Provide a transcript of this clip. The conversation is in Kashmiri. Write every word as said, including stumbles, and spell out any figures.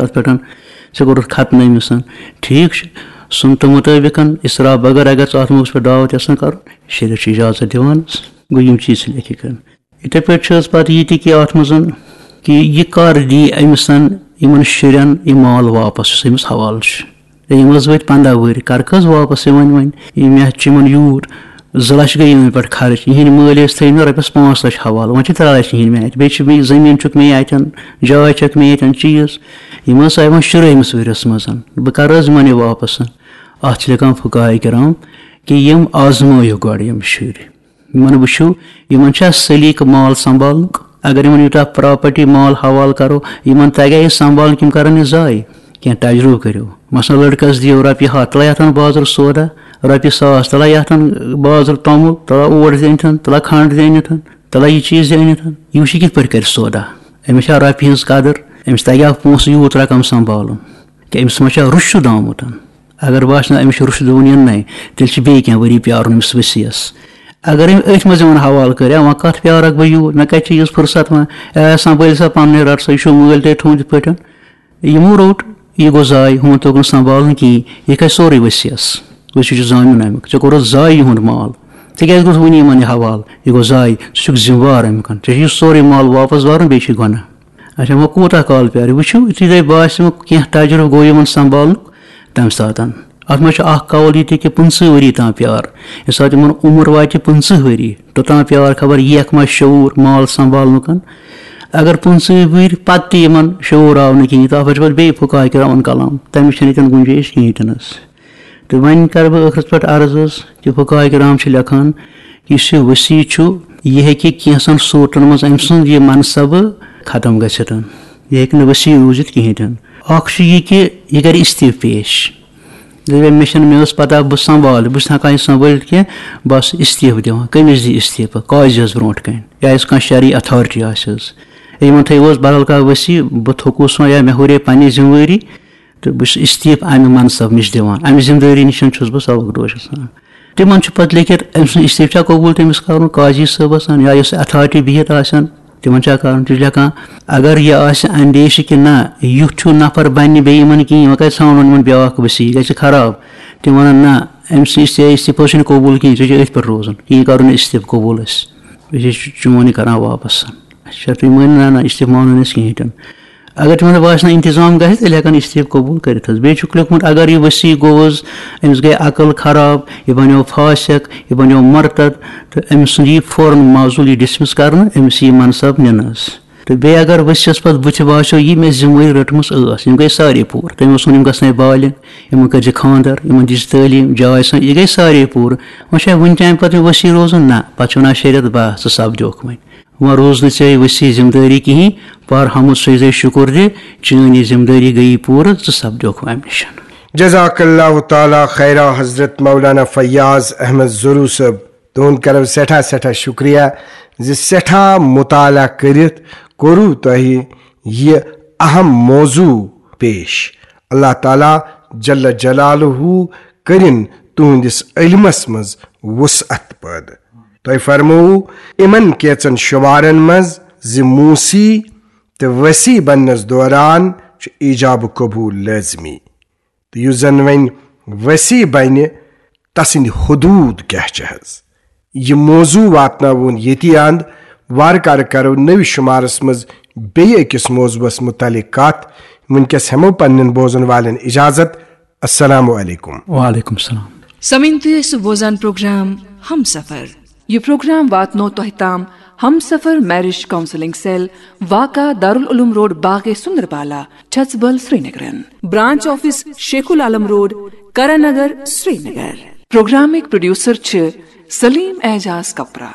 اَتھ پٮ۪ٹھ، ژےٚ کوٚرُتھ ختنہٕ أمِس۔ ٹھیٖک چھُ، سُنتہٕ مُطٲبِقَن اِسراف بغٲر اگر ژٕ اَتھ موقعَس پٮ۪ٹھ دعوت یَژھان کَرُن، شریعت چھُ اِجازت دِوان۔ گوٚو یِم چیٖز چھِ لیکھِتھ کَرٕنۍ۔ یِتھَے پٲٹھۍ چھِ حظ پَتہٕ یہِ تہِ کہِ اَتھ منٛز کہِ یہِ کَر دی أمِس یِمَن شُرٮ۪ن یہِ مال واپَس یُس أمِس حوالہٕ چھُ۔ ہے، یِم حظ وٲتۍ پنٛداہ وٕہٕرۍ، کَر کٔژ واپَس یِوان وۄنۍ؟ یہِ مےٚ چھِ یِمَن یوٗت زٕ لَچھ گٔے یِمَن پٮ۪ٹھ خرٕچ، یِہِنٛدۍ مٲلۍ ٲسۍ تھٲومٕتۍ رۄپیَس پانٛژھ لَچھ حوالہٕ، وۄنۍ چھِ ترٛےٚ لَچھ یِہِنٛدۍ مےٚ اَتہِ، بیٚیہِ چھِ مےٚ زٔمیٖن چھُکھ مےٚ اَتٮ۪ن، جاے چھَکھ مےٚ ییٚتٮ۪ن، چیٖز۔ یِم حظ آیہِ وۄنۍ شُرٲہمِس ؤرِیَس منٛز، بہٕ کَرٕ حظ یِمَن یہِ واپَس؟ اَتھ چھِ لیکھان فقہاء کرام کہِ یِم آزمٲیِو گۄڈٕ یِم شُرۍ، یِمَن وٕچھِو، یِمَن چھا سلیقہٕ مال سنبھالنُک؟ اگر یِمَن یوٗتاہ پراپرٹی مال حوالہٕ کَرو، یِمَن تَگیٛا یہِ سنبھالُن کِنہٕ کَرَن یہِ ضایع؟ کینٛہہ تجرُبہٕ کٔرِو۔ مثلاً لٔڑکَس دِیِو رۄپیہِ ہَتھ، تُلہِ یَتھ اَنہٕ بازرٕ سودا، رۄپیہِ ساس، تُلہِ یَتھ اَنہٕ بازرٕ توٚمُل، تُلہِ اور زینتھَن، تُلہِ کھنٛڈ زینتھَن، تُلہِ یہِ چیٖز زینتھَن۔ یہِ وٕچھِ یہِ کِتھ پٲٹھۍ کَرِ سودا؟ أمِس چھا رۄپیہِ ہٕنٛز قدٕر؟ أمِس تَگیٛا پونٛسہٕ یوٗت رقم سنبھالُن؟ کہِ أمِس ما چھا رُشد آمُت؟ اگر باسہِ نہ أمِس چھُ رُشد وُنہِ یِنَے، تیٚلہِ چھِ بیٚیہِ کینٛہہ ؤری پیارُن أمِس ؤسیٖیَس۔ اگر أمۍ أتھۍ منٛز یِمَن حوالہٕ کٔرۍ، وۄنۍ کَتھ پیارَکھ بہٕ یوٗت؟ مےٚ کَتہِ چھِ یِژھ فرصت وۄنۍ؟ اے، سنبھٲلۍ سا پَنُنُے، رَٹ سا، یہِ چھُ مٲلۍ تۄہہِ تھوٚومُت یِتھ پٲٹھۍ۔ یِمو روٚٹ، یہِ گوٚو ضایع، ہُمَن توٚگ نہٕ سنبھالُن کِہیٖنۍ۔ یہِ کھسہِ سورُے ؤسیٖیَس۔ ؤسیٖیَس چھُ زانیُن اَمیُک۔ ژےٚ کوٚرُتھ ضایع یِہُنٛد مال۔ ژےٚ کیٛازِ کوٚرُتھ وٕنہِ یِمَن یہِ حوالہٕ؟ یہِ گوٚو ضایع۔ ژٕ چھُکھ ذمہٕ وار اَمہِ کَن۔ ژےٚ چھُ یہِ سورُے مال واپَس بَرُن، بیٚیہِ چھُے گۄناہ۔ اچھا، وۄنۍ کوٗتاہ کال پیارِ؟ وٕچھِو، یُتھُے تۄہہِ باسہِ، وۄنۍ کینٛہہ تجرُبہٕ گوٚو یِمَن سنبھالنُک، تَمہِ ساتَن۔ اَتھ منٛز چھُ اَکھ قول یہِ تہِ کہِ پٕنٛژٕہ ؤری تام پیار۔ ییٚمہِ ساتہٕ یِمَن عمر واتہِ پٕنٛژٕہ ؤری، توٚتام پیار خبر یِیَکھ ما شعوٗر مال سنبھالنُکَن۔ اگر پٕنٛژٕہ ؤری پَتہٕ تہِ یِمَن شعوٗر آو نہٕ کِہیٖنۍ، تہٕ اَتھ پٮ۪ٹھ چھِ پَتہٕ بیٚیہِ فقہاء کرامَن کلام۔ تَمِچ چھَنہٕ ییٚتٮ۪ن گُنجٲیِش کِہیٖنۍ تہِ نہٕ حظ۔ تہٕ وۄنۍ کَرٕ بہٕ ٲخرَس پٮ۪ٹھ عرض حظ کہِ فقہاء کرام چھِ لیکھان، یُس یہِ وصی چھُ، یہِ ہیٚکہِ کینٛژَن صوٗرتَن منٛز أمۍ سُنٛد یہِ منصبہٕ ختم گٔژھِتھ۔ یہِ ہیٚکہِ نہٕ وصی روٗزِتھ کِہیٖنۍ تہِ نہٕ۔ اَکھ چھُ یہِ کہِ یہِ کَرِ استعفہٕ پیش۔ دَپہِ، مےٚ چھَنہٕ، مےٚ ٲس پَتہ بہٕ سنبھالہٕ، بہٕ چھُس نہٕ ہٮ۪کان یہِ سنبھٲلِتھ کینٛہہ، بہٕ آسہٕ استعفہٕ دِوان۔ کٔمِس دِیہِ استعفہٕ؟ قاضیَس برونٛٹھ کَنہِ۔ یا یُس کانٛہہ شرعی authority آسہِ حظ۔ یِمَن تھٲیِو حظ بدل کانٛہہ وصی، بہٕ تھوٚکُس وۄنۍ یا مےٚ ہُرے پنٛنہِ ذمہٕ وٲری، تہٕ بہٕ چھُس استعفہٕ اَمہِ منصب نِش دِوان، اَمہِ ذمہٕ دٲری نِش چھُس بہٕ سبق دوش گژھان۔ تِمَن چھُ پَتہٕ لیکھِتھ أمۍ سُنٛد استعفہٕ چھا قبوٗل تٔمِس کَرُن قاضی صٲبَس یا یۄس authority بِہِتھ آسن، تِمَن چھا کَرُن؟ تہِ چھُ لیکھان، اگر یہِ آسہِ اندیشہِ کہِ نہ، یُتھ ہیوٗ نفر بَنہِ نہٕ بیٚیہِ یِمَن کِہیٖنۍ، وۄنۍ کَتہِ ژھانٛڈون یِمَن بیٛاکھ وصی، یہِ گژھِ خراب۔ تِم وَنان، نہ، أمۍ سٕنٛز یہِ استعفہٕ چھُنہٕ قبوٗل کِہیٖنۍ، ژےٚ چھُ أتھۍ پٮ۪ٹھ روزُن، یہِ کَرُن نہٕ استعفہٕ قبوٗل أسۍ، أسۍ چھِ چون یہِ کَران واپَس۔ اچھا، تُہۍ مٲنِو نہ، نہ، استعفہٕ مانو نہٕ أسۍ کِہیٖنۍ تہِ نہٕ۔ اگر تِمن باسہِ نہ انتظام گژھِ، تیٚلہِ ہٮ۪کن استعفہٕ قبوٗل کٔرِتھ حظ۔ بیٚیہِ چھُکھ لیوٚکھمُت، اگر یہِ وصی گوٚو حظ، أمِس گٔے عقل خراب، یہِ بنیو فاسق، یہِ بنیو مرتد، تہٕ أمِس سُنٛد یی فوراً معزول، یہِ dismiss کرنہٕ، أمِس یی منصب نِنہٕ حظ۔ تہٕ بیٚیہِ اگر ؤسیَس پتہٕ بُتھِ باسیو، یہِ مےٚ ذمہٕ وٲری رٔٹمٕژ ٲس، یِم گٔے سارے پوٗرٕ۔ تٔمۍ اوس ووٚن، یِم گژھنَے بالغ، یِمن کٔرۍ زِ خانٛدر، یِمن دِژ تعلیٖم، جاے سان، یہِ گٔے سارے پوٗرٕ۔ وۄنۍ چھا وُنہِ تہِ اَمہِ پتہٕ مےٚ وصی روزُن؟ نہ، پتہٕ چھُ وَنان شریعت، بس، ژٕ سپدیوکھ وۄنۍ۔ وۄنۍ روٗز نہٕ ژےٚ وصی ذمہٕ دٲری کِہیٖنۍ، پر حمد سجدے شُکُر دِ، چٲنۍ یہِ ذمہٕ دٲری گٔیی پوٗرٕ، ژٕ سپدیوکھ وۄنۍ اَمہِ نِش۔ جزاک اللہ تعالیٰ خیرا حضرت مولانا فیاض احمد زرو صٲب، تُہُنٛد کرو سٮ۪ٹھاہ سٮ۪ٹھاہ شُکریہ زِ سٮ۪ٹھاہ مطالعہ کٔرِتھ کوٚروٕ تۄہہِ یہِ اہم موضوع پیش۔ اللہ تعالیٰ جل جلالہ کٔرِن تُہنٛدِس علمس منٛز وسعت پٲدٕ۔ تۄہہِ فرمووُ یِمن کینٛژن شمارن منٛز زِ موسی تہٕ وصی بننس دوران چھُ ایجاب قبول لٲزمی۔ تہٕ یُس زن وۄنۍ وصی بنہِ، تسٕنٛدۍ حدوٗد کیٛاہ چھِ حظ؟ یہِ موضوع واتناوون ییٚتی اند۔ وارٕ کارٕ کرو نٔوِس شمارس منٛز بیٚیہِ أکِس موضوعس متعلق کتھ۔ وٕنکیٚس ہٮ۪مو پننٮ۪ن بوزن والٮ۪ن اجازت۔ السلام علیکم۔ وعلیکم السلام۔ سمعین، تُہۍ ٲسِو بوزان پروگرام ہم سفر۔ یہِ پروگرام واتنو تۄہہِ تام ہم سفر میرج کاؤنسلنگ سیل، واقع دارالعلوم روڈ، باغ سندربالا، چھژبل، سرینگرن۔ برانچ آفس شیخ العالم روڈ، کرن نگر، سرینگر۔ پروگرامٕکۍ پروڈیوسر چھِ سلیم اعجاز کپرا۔